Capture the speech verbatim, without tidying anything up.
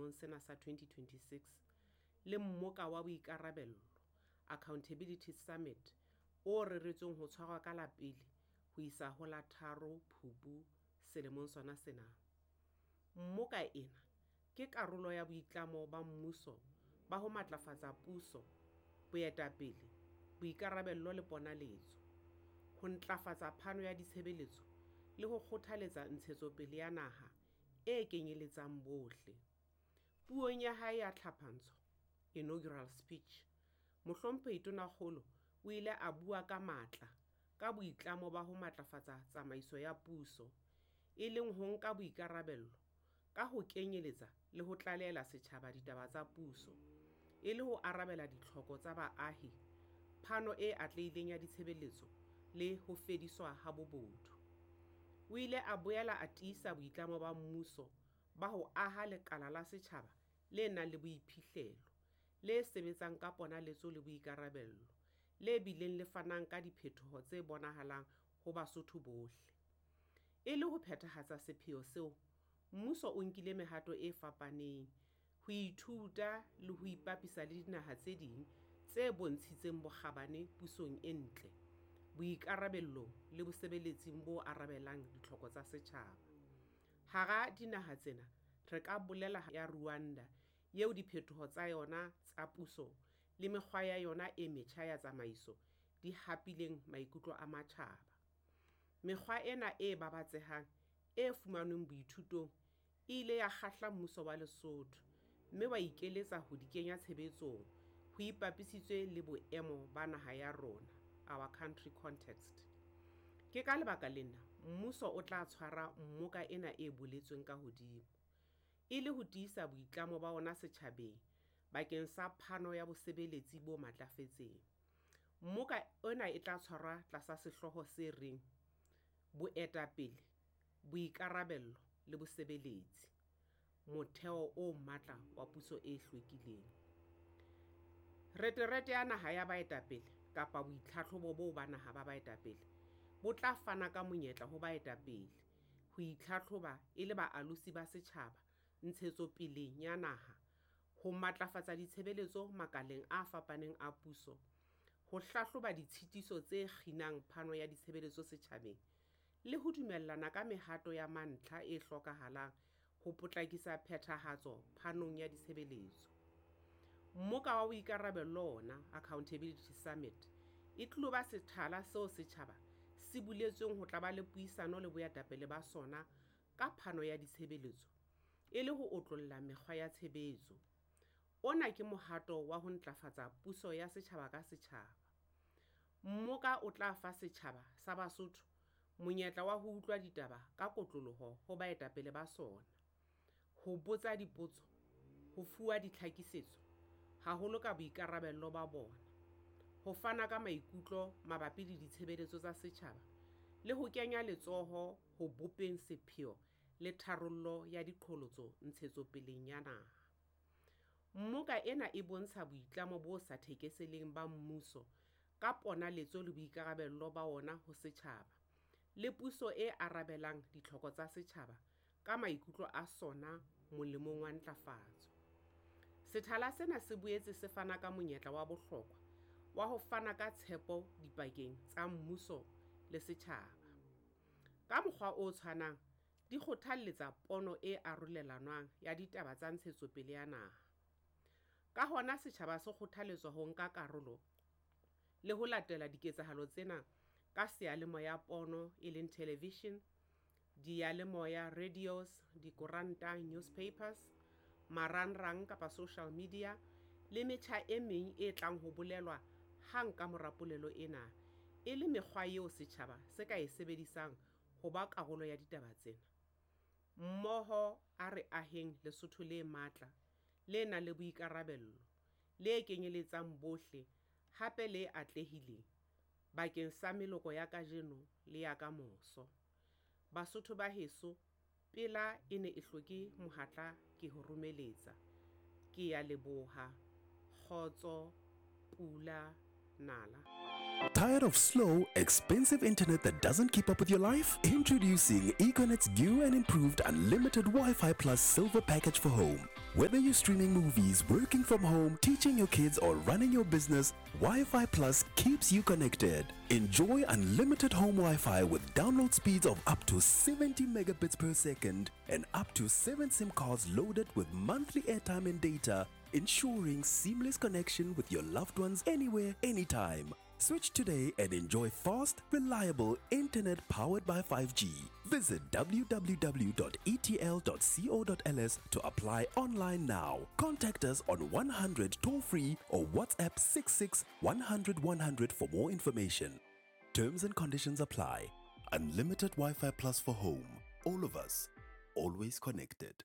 selemong sena sa twenty twenty-six le Mmoka wa Boikarabello, Accountability Summit, o reretsweng ho tshwarwa ka la pele ho isa ho la tharo Phupu selemong sona sena. Mmoka ena ke karolo ya boitlamo ba mmuso ba ho matlafatsa puso, boetapele, boikarabello le ponaletso, ho ntlafatsa phano ya ditshebeletso le ho kgothaletsa ntshetsopele ya naha e kenyeletsang bohle. Puong ya hae ya tlhapantsho, inaugural speech, Mohlomphehi Tonakgolo o ile a bua ka matla ka boitlamo ba ho matlafatsa tsamaiso ya puso, e leng ho nka boikarabello ka ho kenyeletsa le ho tlalehela setjhaba ditaba tsa puso, e le ho arabela ditlhoko tsa baahi, phano e atlehileng ya ditshebeletso le ho fediswa ha bobodu. O ile a boela a tiisa boitlamo ba mmuso ba ho aha lekala la setjhaba le nang le boiphihlelo, le sebetsang ka ponaletso le boikarabello, le bileng le fanang ka diphetoho tse bonahalang ho Basotho bohle. E le ho phethahatsa sepheo seo, mmuso o nkile mehato e fapaneng ho ithuta le ho ipapisa le dinaha tse ding tse bontshitseng bokgabane pusong e ntle, boikarabellong le bosebeletsing bo arabelang ditlhoko tsa setjhaba. Hara dinaha tsena re ka bolela ya Rwanda eo diphetoho tsa yona tsa puso le mekgwa ya yona e metjha ya tsamaiso di hapileng maikutlo a matjhaba. Mekgwa ena e babatsehang e fumanweng boithutong e ile ya kgahla mmuso wa Lesotho mme wa ikeletsa ho di kenya tshebetsong ho ipapisitswe le boemo ba naha ya rona, our country context. Ke ka lebaka lena mmuso o tla tshwara mmoka ena e boletsweng ka hodimo, e le ho tiisa boitlamo ba ona setjhabeng bakeng sa phano ya bosebeletsi bo matlafetseng. Mmoka ona e tla tshwarwa tlasa sehlooho se reng Boetapele, Boikarabello le Bosebeletsi, Motheo o Matla wa Puso e Hlwekileng. Reterete ya Naha ya Baetapele kapa boitlhahlobo boo ba naha ba baetapele bo tla fana ka monyetla ho baetapele ho itlhahloba e le baalosi ba setjhaba ntshetsopeleng ya naha, ho matlafatsa ditshebeletso makaleng a fapaneng a puso, ho hlahloba ditshitiso tse kginang phano ya ditshebeletso setjhabeng le ho dumellana ka mehato ya mantlha e hlokahalang ho potlakisa phethahatso phanong ya ditshebeletso. Mmoka wa Boikarabello ona, Accountability Summit, e tlilo ba sethala seo setjhaba se buletsweng ho tla ba le puisano le boetapele ba sona ka phano ya ditshebeletso e le ho otlolla mekgwa ya tshebetso. Ona ke mohato wa ho ntlafatsa puso ya setjhaba ka setjhaba. Mmoka o tla fa setjhaba sa Basotho monyetla wa ho utlwa ditaba ka kotloloho ho baetapele ba sona, ho botsa dipotso, ho fuwa ditlhakisetso, haholo ka boikarabello ba bona, ho fana ka maikutlo mabapi le ditshebeletso tsa setjhaba le ho kenya letsoho ho bopeng sepheo le tharollo ya diqholotso ntshetsopeleng ya naha. Mmoka ena e bontsha boitlamo bo sa thekeseleng ba mmuso ka ponaletso le boikarabello ba ona ho setjhaba, le puso e arabelang ditlhoko tsa setjhaba ka maikutlo a sona molemong wa ntlafatso. Sethala sena se boetse se fana ka monyetla wa bohlokwa wa ho fana ka tshepo dipakeng tsa mmuso le setjhaba. Ka mokgwa o tshwanang, di kgothalletsa pono e arolelanwang ya ditaba tsa ntshetsopele ya naha. Ka hona setjhaba se kgothaletswa ho nka karolo le ho latela diketsahalo tsena ka seyalemoya pono e leng television, diyalemoya radios, dikoranta newspapers, marangrang kapa social media le metjha e meng e tlang ho bolelwa hang ka mora polelo ena, e le mekgwa eo setjhaba se ka e sebedisang ho ba karolo ya ditaba tsena. Mmoho a re aheng Lesotho le matla, le nang le boikarabello, le kenyeletsang bohle hape le atlehileng bakeng sa meloko ya kajeno le ya kamoso. Basotho ba heso, pela e ne e hloke mohatla ke ho romeletsa. Ke ya leboha. Kgotso, pula, nala. Tired of slow, expensive internet that doesn't keep up with your life? Introducing Econet's new and improved unlimited Wi-Fi Plus Silver Package for home. Whether you're streaming movies, working from home, teaching your kids, or running your business, Wi-Fi Plus keeps you connected. Enjoy unlimited home Wi-Fi with download speeds of up to seventy megabits per second and up to seven SIM cards loaded with monthly airtime and data, ensuring seamless connection with your loved ones anywhere, anytime. Switch today and enjoy fast, reliable internet powered by five G. Visit w w w dot e t l dot co dot l s to apply online now. Contact us on one hundred toll free or WhatsApp six six one hundred one hundred for more information. Terms and conditions apply. Unlimited Wi-Fi Plus for home. All of us, always connected.